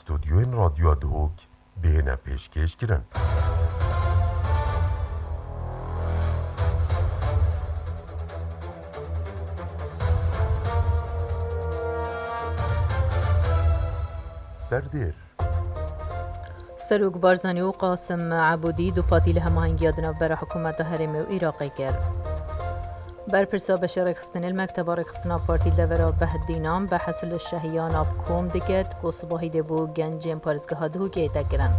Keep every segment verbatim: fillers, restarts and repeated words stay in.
Stûdyoyên Radyoya Duhok bihêne pêşkêş kirin. Serdêr. Serok Barzanî û Qasim Ebûdî dupatî li hemahengiya di navbera hikûmeta herêmê û Iraqê kir. Berpirsa beşê rêxistinê li mekteba rêxistina partî li devera Behdînan behs li şehiyana bi kom dike, ku sibahî dê bo gencên parêzgeha Duhokê hête kirin.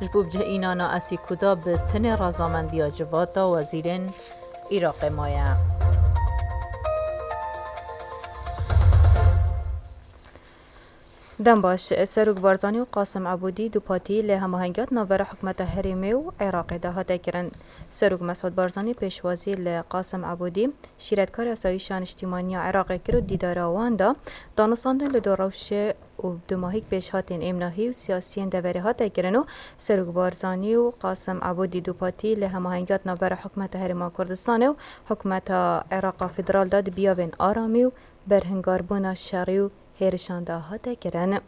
Ji bo bicih înana Esîkuda bi tinê razamendiya civata wezîrên Iraqê maye. Dem baş, Serok Barzanî û Qasim Ebûdî dupatî li hemahengiya di navbera hikûmeta herêmê û Iraqê de hate kirin. Serok Mesûd Barzanî pêşwazî li Qasim Ebûdî, şîretkarê asayîşa niştîmanî ya Iraqê kir û dîdara wan da danûstandin li dor rewşê û dumahîk pêşhatên êmnahî û siyasiyên deverê hate kirin û Serok Barzanî û Qasim Ebûdî dupatî li hemahengiya di navbera hikûmeta Herêma Kurdistanê û hikûmeta Iraqa Federal de di biyavên aramî û berhingarbûna şerî û hêrişan de hate kirin.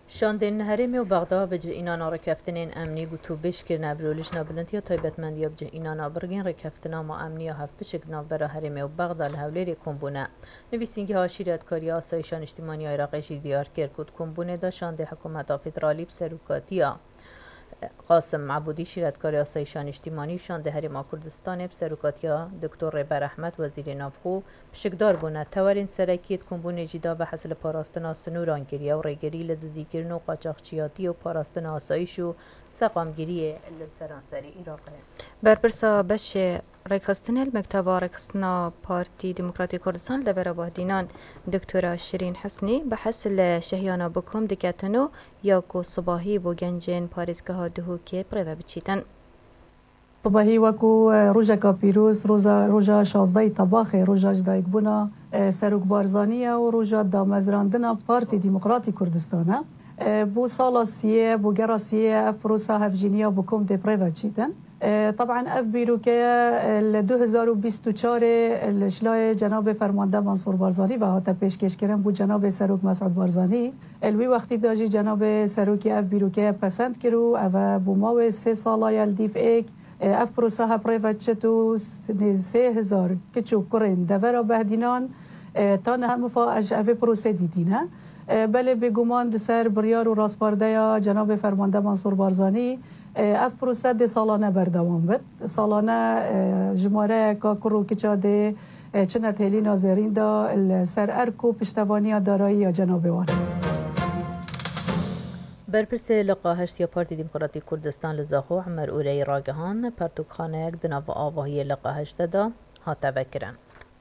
Şandên herêmê û Bexda bi cih înana rêkeftinên emnî gotûbêj kirine. Vîrolijna Bilind ya Taybetmendiya Bi Cih Înana Birgên Rêkeftina ma Emniya Hevpişik di navbera herêmê û Bexda li Hewlêrê kom bûne. Nivîsîngeha Şîretkariya Asayîşa Niştîmanî ya Iraqê jî diyar kir ku di kombûnê de şandê hikûmeta federalî bi serokatiya Qasim Ebûdî, şîretkarê Asayîşa Niştîmanî û şandê Herêma Kurdistanê bi serokatiya Doktor Rêber Ehmed, Wezîrê Navxwe, pişikdar bûne. Tewerên serekî di kombûnê jî de behs li parastina sinûran kiriye û rêgirî li dizîkirin û qaçaxçiyatiyê û parastina asayîş û seqamgiriyê li seranserê Iraqê. Berpirsa beşê rêkxistinê li Mekteba Rêkxistina Partî Demokratîk Kurdistan li devera Bahdînan, Doktora Şirîn Husnî, behs li şehiyana bi kom diketin û ya ku sibahî bo gencên parêzgeha Duhokê bi rê ve biçîtin. Sibahî wekû, e, rojeka pîroz, roza, roja şazdehê Tebaxê, roja ji dayikbûna, e, Serok Barzanî ye û roja damezrandina Partî Demokratîk Kurdistan e. E, bo sala siyê, bo gera siyê ev prosa hevjîniya bi kom tê bi rê ve çîtin. E, taban ev bîrokeye, e, li du hezar û bîst û çarê, e, li ji layê Cenabê Fermande Mansûr Barzanî ve hate pêşkêşkirin bo Cenabê Serok Mesûd Barzanî. E, li wî wextî de jî Cenabê Serokê ev bîrokeye pesend kir û ev e bo mawê sê sala ye li dîv êk. E, ev prosa hep rê ve çit û s-, nê sê hezar kiç û kurên devera Behdînan, e, ta niha mifa ez ji evê prosê dîtîne. E, belê bêguman di ser biryar û rastpardeya Cenabê Fermande Mansûr Barzanî, e, ev prose dê salane berdewam bit. Salane, e, jimareyeka kur û kiça dê, e, çine di hêlîna zêrîn de li ser erk û piştevaniya darayî ya cenabê wan. Berpirsê Liqa heşt ya Partî Demokratîk Kurdistan li Zaxo Emer Ureyî ragihand, pertûkxaneyek di nava avahiyê Liqa heşt de hate vekirin.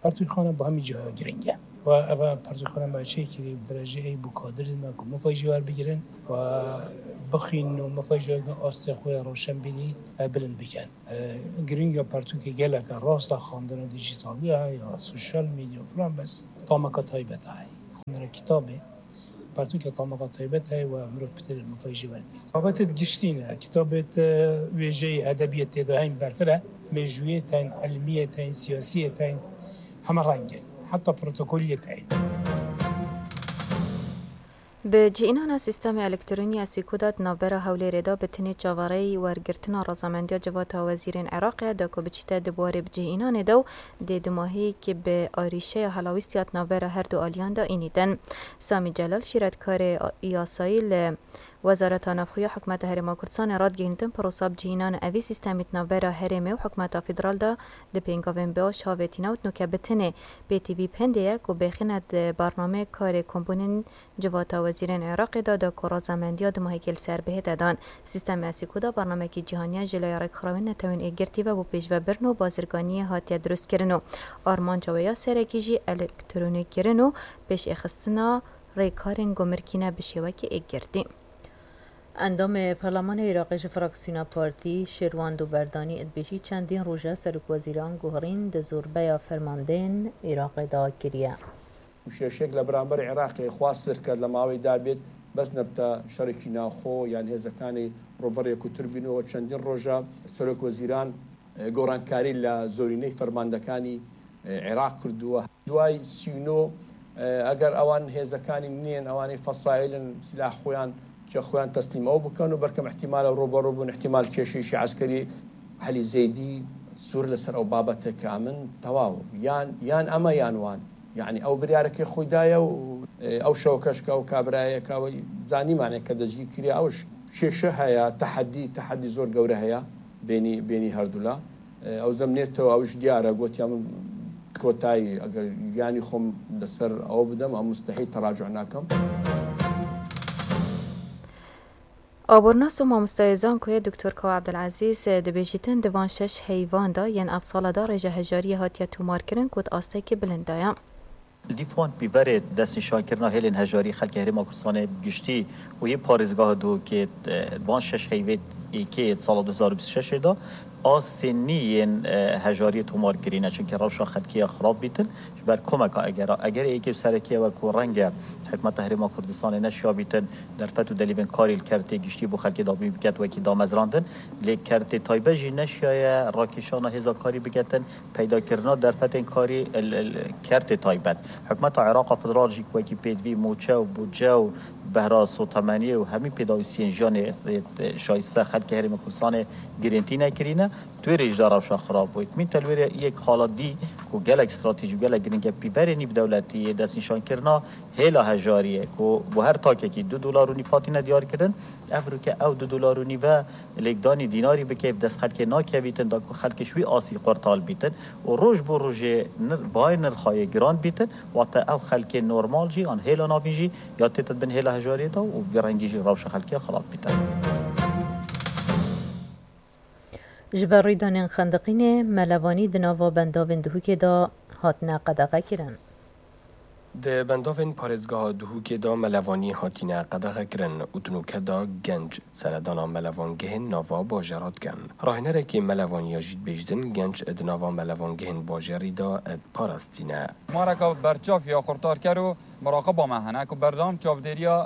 Pertûkxane bi hemî cihaya giring e. Ve ev pertûkxane me çêkirî bi derece ey bo kadirên me ku mifayî jî werbigirin ve bixwînin û mifayî jî weke astê xwe ya rewşenbînî, e, bilind bikin. E, giringiya pertûkê gelek e, rast e, xwendina dîjîtalî heye, ya sosyal medya filan, bes tameka taybet heye. Xwendina kitabê pertûkê tameka taybet heye we mirov bi têrê mifayî jî werdigre. Babetê giştî ne, kitabê te wêjeyê edebiyê tê de heyî berfireh, mêjûyê tên, ilmiyê tên, siyasiyê tên, heme reng in. Heta protokoliyê tên. Bi cihînana sîstemê elektronî ya Sîkû de di navbera Hewlêrê de bi tinê çaverêyî wergirtina razamendiya Civata Wezîrên Iraqê de ku biçîte di warê bicihînanê de û dê dumahî ki bi arîşeya helawîstiya di navbera her du aliyan de înîtin. Samî Celal, şîretkarê yasayî li Wezareta Navxwe ya Hikûmeta Herêma Kurdistanê, radigihînitin prosa bicihînana evî sîstemî di navbera herêmê û hikûmeta federal de di pêngavên baş havêtîne û di nûke bi tinê pêtivî bi hindê ye ku bêxîne di barnameyê karê kombûnên Civata Wezîrên Iraqê de da ku razamendiya dumahîkê li ser bihête dan. Sîstemê Esîkû de barnamekî cîhanî ye ji laya Rêkxrawên Netewên Êkgirtî ve bo pêşvebirin û bazirganiyê hatiye dirustkirin û armanca wê ya serekî jî elektronîkirin û pêşêxistina rêkarên gumirkî ne bi şêwekî êkgirtî. Endamê Parlemanê Iraqê ji fraksiyona partî Şêrwan Doberdanî dibêjî, çendîn roj e serokwezîran guherîn di zorbeya fermandeyên Iraqê de kiriye. Şêşek لە بەرامبەر عێراقی خواست کرد لە ماوەی دابێت بەس نەبتە شەڕێکی ناوخۆ یان هێزەکانی ڕوبەڕێک و تربینەوە چەندین ڕۆژە سەرۆک وەزیران گۆڕانکاری لە زۆرینەی فەرماندەکانی عێراق کردووە. دوای سی و نۆ ئەگەر ئەوان هێزەکانی منین، ئەوانی فەسایلن، سلاح خۆیان، چە خۆیان تەسلیم ئەو بکەن و بەرکەم احتیمالە ڕوبەڕوو بوون، احتیمال کێشەیەکی عەسکەری عەلی زەیدی سوور لەسەر ئەو بابەتە کە ئەمن تەواو. یان، یان ئەمە یان وان. یعنی ئەو بریارەکەی خۆی دایە و، ئێ، ئەو شەوەکەش کە ئەو کابرایە کە ئەوەی زانیمانێک کە دەستگیر کرێ، ئەوش کێشە هەیە، تەحەدی، تەحەدی زۆر گەورە هەیە بینی، بینی هەردوولا. ئەو زەمنێتەوە، ئەوش دیارە، گوتیان من کۆتایی، ئەگەر گیانی خۆم لەسەر ئەوە بدەم، ئەم مستەحی تەراجع ناکەم. Abornas û mamostayê zankoyê Doktor Kawa Ebdulezîz dibêjîtin di van şeş heyvan de yên ev sala de rêje hejariyê hatiye tomarkirin ku di astekî bilind de ye. Li dîf wan pîverê destnîşankirina hêlên hejarî xelkê Herêma Kurdistanê bi giştî û yê parêzgeha Duhokê di van şeş heyvê êkê yê sala du hezar û bîst û şeş de astên nî yên hejariyê tomar kirîne, çimkî rewşa xelkê ya xirab bîtin. Ji ber komeka egera, egerê êkê û serekî ew e ku renge hikûmeta Herêma Kurdistanê neşiya bîtin derfet û delîvên karî li kertê giştî bo xelkê dabîn biket wekî damezrandin, lê kertê taybet jî neşiyaye rakêşana hêza karî biketin, peydakirina derfetên karî li kertê taybet. Hikûmeta Iraqa Federal jî ku wekî pêdivî moçe û budce û behra sotemeniyê û hemî pêdawîstiyên jiyanê şayiste xelkê Herêma Kurdistanê girêntî nekirîne, di wê rê jî de rewşa xirab bû. Min te li wê rê yek xala dî ku gelek stratejî û gelek giring e, pîverê nîvdewletiyê, destnîşankirina hêla hejariyê ku bo her takekî du dolar û nîv hatine diyarkirin, ev rûke ew du dolar û nîve lêkdanî dînarî bike, bi dest xelkê nakevîtin, da ku xelk ji wî asî qurtal bîtin û roj bo rojê nir-, bayê nirxa yê giran bîtin, wate ew xelkê normal jî an hêla navîn jî ya tête di bin hêla hejariyê de û bi vî rengî jî rewşa xelkê ya xirab bîtin. Ji ber rîdanên xendiqînê, melevanî di nava bendavên Duhokê de hatine qedexekirin. Di bendavên parêzgeha Duhokê de melevanî hatine qedexekirin û di nûke de genc seredana melevangehên nava bajêra dikin. Rahênerekî melevaniya jî dibêjtin genc di nava melevangehên bajêrî de diparastîne. Mareka berçav ya xurtarker û muraqiba me hene ku berdewam çavdêriya,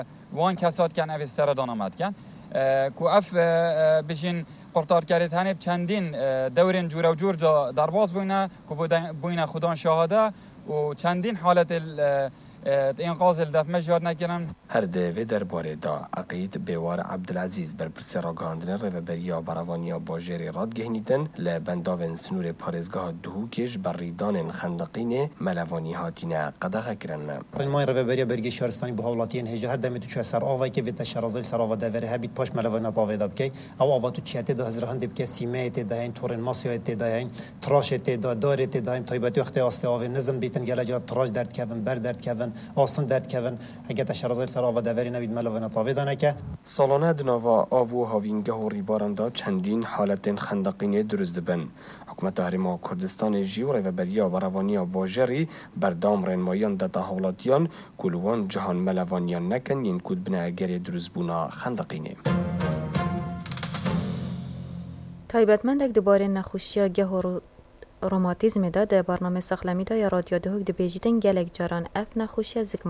e, wan kesa dikin, evê seredana me dikin, e, ku ev, e, e, bijîn qurtarkerê tenê bi çendîn, e, dewrên cûrewcûr de derbas bûyne, ku bûde-, bûyne xudan şahade û çendîn haletê, e, e, înqazê li def me jiyar nekirin. Her di vê derbarê de Eqîd Bêwar Ebdulezîz, berpirsê ragihandinê Rêveberiya Berevaniya Bajêrê radigihînîtin, li bendavên sinûrê parêzgeha Duhokê ji ber rîdanên xendiqînê melevanî hatine qedexekirin. Rênmayên Rêveberiya Bergî Şaristanî bo hawlatiyên hêja her demê tu çûye ser avekê vê te şerazayî ser ava deverê hebît paş melevaniyat avê de bikey. Ew ava tu çiye tê de hizra hindê bike, sîmeyê tê de heyîn, torên masyayê tê de heyîn, tiraşê tê de, darê tê de heyîn, taybetî wextê astê avê nizm bîtin, gelek cara tiraş derdikevin, ber derdikevin, asin derdikevin. Heke te şerazayî ser ava deverê nebît, melevaniyat avê de neke. Salane di nava av û havîngeh û rîbaran de çendîn haletên xendeqînê dirust dibin. Hikûmeta Herêma Kurdistanê jî û Rêveberiya Berevaniya Bajêrî berdewam rênmayiyan dete hawlatiyan ku li wan cihan melevaniyan nekin yên ku dibine egerê dirustbûna xendeqînê. Taybetmendek di barê nexweşiya geh û ro-, romatîzmê de di bernamê Saxlemî de ya Radyo Duhok dibêjîtin, gelek caran ev nexweşiya zikma